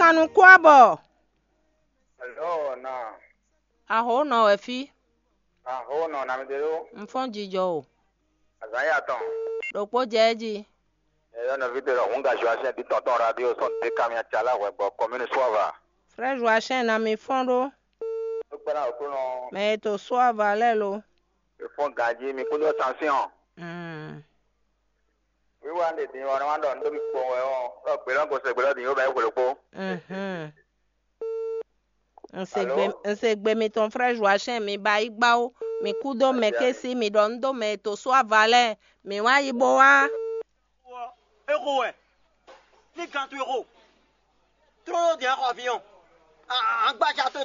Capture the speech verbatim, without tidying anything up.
Anu kú abɔ. Hello, na. Aho nɔ wɛ fí. Aho nɔ na mi de ɖo. N fɔ́n jijɔ o. Azan ya tɔn. Ɖokpó jɛ jí. Eyɔ nɔvi de ɖɔ hun ga Joachim di tɔntɔn radio sɔn de kamia tsala hwɛ gbɔ commune Suava. Frère Joachim na mi fɔ́n ɖó. Ɖo kpɛ́ ná òkú nɔ. Mɛ e to Suava lɛ́ɛ lo. Efɔn ganjí mi kúndó tension. Mm. Wíwá ɖe din ɔ́, wá ɖɔ nǔ ɖo mi kpɔn wɛ ɔ́, ɖɔ gbě lɔ́ gosɛ gbě lɔ́ din yóò bɛ é hwelókpó. Mhm. N se Alo? Gbe, n se gbe mitɔn frère Joachim mi ba yi gbá ó. Mi kú dó mɛ Adia ké mi. Sí mi ɖɔ nú dó mɛ e to sú ava lɛ́ɛ. Mi wá yi bo wá. Exo wɛ. Ní gan towe xo. Tró ɖó dǐn axɔ aviɔn. Agbájá tó.